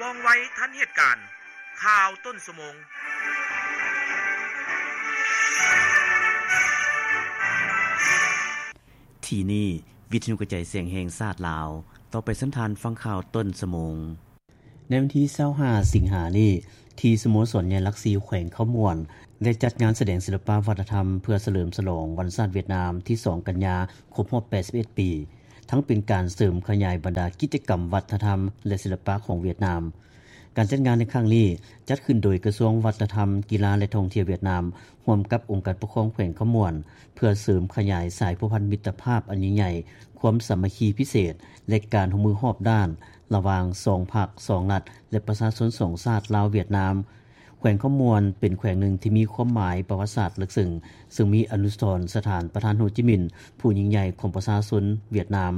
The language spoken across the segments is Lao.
ວ່ອງໄວທັນເຫດການ. ຂ່າວຕົ້ນຊົ່ວໂມງ. ທີ່ນີ້ ວິທະຍຸກະຈາຍສຽງແຫ່ງຊາດລາວ. ຕໍ່ໄປເຊີນທ່ານຟັງຂ່າວຕົ້ນຊົ່ວໂມງ. ໃນວັນທີຊາວຫ້າ ສິງຫານີ້ ທີ່ສະໂມສອນໃຫຍ່ຫຼັກສີ່ ແຂວງຄຳມ່ວນ ໄດ້ຈັດງານສະແດງສິລະປະວັດທະນຳ ເພື່ອສະເຫຼີມສະຫຼອງວັນຊາດຫວຽດນາມ ທີສອງ ກັນຍາ ຄົບຮອບ ແປດສິບເອັດ ປີ, ທັງເປັນການເສີມຂະຫຍາຍບັນດາກິດຈະກຳວັດທະນຳ ແລະ ສິລະປະຂອງຫວຽດນາມ. ການຈັດງານໃນຄັ້ງນີ້ ຈັດຂຶ້ນໂດຍກະຊວງວັດທະນຳ, ກິລາ ແລະ ທ່ອງທ່ຽວຫວຽດນາມ ຮ່ວມກັບອົງການປົກຄອງແຂວງຄຳມ່ວນ ເພື່ອເສີມຂະຫຍາຍສາຍພົວພັນມິດຕະພາບອັນຍິ່ງໃຫຍ່, ຄວາມສາມັກຄີພິເສດ ແລະ ການຮ່ວມມືຮອບດ້ານ ລະຫວ່າງສອງພັກ, ສອງລັດ ແລະ ປະຊາຊົນສອງຊາດ ລາວ-ຫວຽດນາມ. ແຂວງຄຳມ່ວນເປັນແຂວງໜຶ່ງທີ່ມີຄວາມໝາຍປະຫວັດສາດເລິກເຊິ່ງ, ເຊິ່ງມີອະນຸສອນສະຖານປະທານໂຮຈິມິນ ຜູ້ຍິ່ງໃຫຍ່ຂອງປະຊາຊົນຫວຽດນາມ.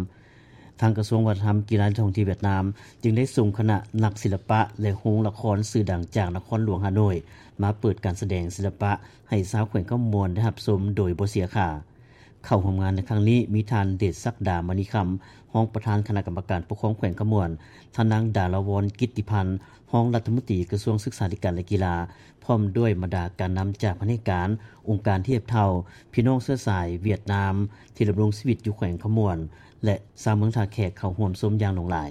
ທາງກະຊວງວັດທະນະທຳ, ກິລາ ແລະ ທ່ອງທ່ຽວຫວຽດນາມ ຈຶ່ງໄດ້ສົ່ງຄະນະນັກສິລະປະ ແລະ ໂຮງລະຄອນຊື່ດັງຈາກນະຄອນຫຼວງຮ່າໂນ້ຍ ມາເປີດການສະແດງສິລະປະໃຫ້ຊາວແຂວງຄຳມ່ວນໄດ້ຮັບຊົມໂດຍບໍ່ເສຍຄ່າ. ເຂົ້າຮ່ວມງານໃນຄັ້ງນີ້ມີທ່ານ ເດດສັກດາ ມະນີຄຳ ຮອງປະທານຄະນະກຳມະການປົກຄອງແຂວງຄຳມ່ວນ, ທ່ານນາງ ດາລາວອນ ກິດຕິພັນ ຮອງລັດຖະມົນຕີກະຊວງສຶກສາທິການ ແລະ ກິລາ, ພ້ອມດ້ວຍບັນດາການນຳຈາກພະແນກການ, ອົງການທຽບເທົ່າ, ພີ່ນ້ອງເຊື້ອສາຍຫວຽດນາມທີ່ດຳລົງຊີວິດຢູ່ແຂວງຄຳມ່ວນ ແລະ ຊາວເມືອງທ່າແຂກເຂົ້າຮ່ວມຊົມຢ່າງຫຼວງຫຼາຍ.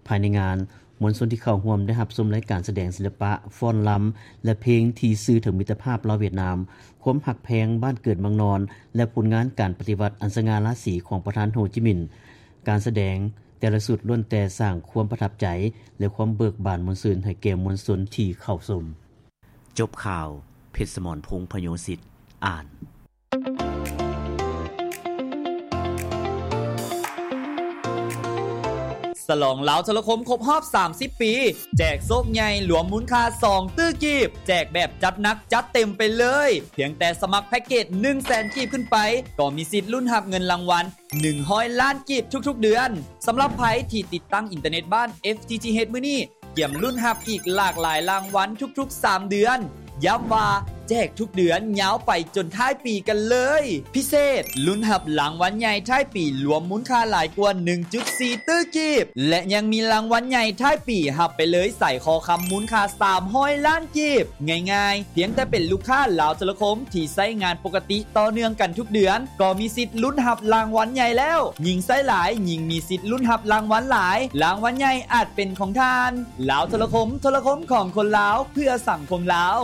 ພາຍໃນງານ, ມວນຊົນທີ່ເຂົ້າຮ່ວມໄດ້ຮັບຊົມລາຍການສະແດງສິລະປະ, ຟ້ອນລຳ ແລະ ເພງທີ່ສື່ເຖິງມິດຕະພາບລາວ-ຫວຽດນາມ, ຄວາມຮັກແພງບ້ານເກີດເມືອງນອນ ແລະ ຜົນງານການປະຕິວັດອັນສະຫງ່າລາສີຂອງປະທານໂຮຈິມິນ. ການສະແດງແຕ່ລະຊຸດລ້ວນແຕ່ສ້າງຄວາມປະທັບໃຈ ແລະ ຄວາມເບີກບານມ່ວນຊື່ນໃຫ້ແກ່ມວນຊົນທີ່ເຂົ້າຊົມ. ຈົບຂ່າວ, ເພັດສະໝອນ ພົງພະໂຍສິດ ອ່ານ. ສະຫຼອງລາວໂທລະຄົມຄົບຮອບສາມສິບປີ ແຈກໂຊກໃຫຍ່ລວມມູນຄ່າສອງຕື້ກີບ, ແຈກແບບຈັດໜັກຈັດເຕັມໄປເລີຍ. ພຽງແຕ່ສະໝັກແພັກເກດໜຶ່ງແສນກີບຂຶ້ນໄປ ກໍມີສິດລຸ້ນຮັບເງິນລາງວັນໜຶ່ງຮ້ອຍລ້ານກີບທຸກໆເດືອນ. ສຳລັບໃຜທີ່ຕິດຕັ້ງອິນເຕີເນັດບ້ານ ເອັຟ ທີ ທີ ເອັດ ມື້ນີ້ ກຽມລຸ້ນຮັບອີກຫຼາກຫຼາຍລາງວັນທຸກໆສາມເດືອນ. ຢ້ຳວ່າແຈກທຸກເດືອນຍາວໄປຈົນທ້າຍປີກັນເລີຍ. ພິເສດ, ລຸ້ນຮັບລາງວັນໃຫຍ່ທ້າຍປີລວມມູນຄ່າຫຼາຍກວ່າໜຶ່ງຈຸດສີ່ຕື້ກີບ ແລະ ຍັງມີລາງວັນໃຫຍ່ທ້າຍປີຮັບໄປເລີຍສາຍຄໍຄຳມູນຄ່າສາມຮ້ອຍລ້ານກີບ. ງ່າຍໆ, ພຽງແຕ່ເປັນລູກຄ້າລາວໂທລະຄົມທີ່ໃຊ້ງານປົກກະຕິຕໍ່ເນື່ອງກັນທຸກເດືອນ ກໍມີສິດລຸ້ນຮັບລາງວັນໃຫຍ່ແລ້ວ. ຍິ່ງໃຊ້ຫຼາຍ, ຍິ່ງມີສິດລຸ້ນຮັບລາງວັນຫຼາຍ. ລາງວັນໃຫຍ່ອາດເປັນຂອງທ່ານ. ລາວໂທລະຄົມ, ໂທລະຄົມຂອງຄົນລາວ, ເພື່ອສັງຄົມລາວ.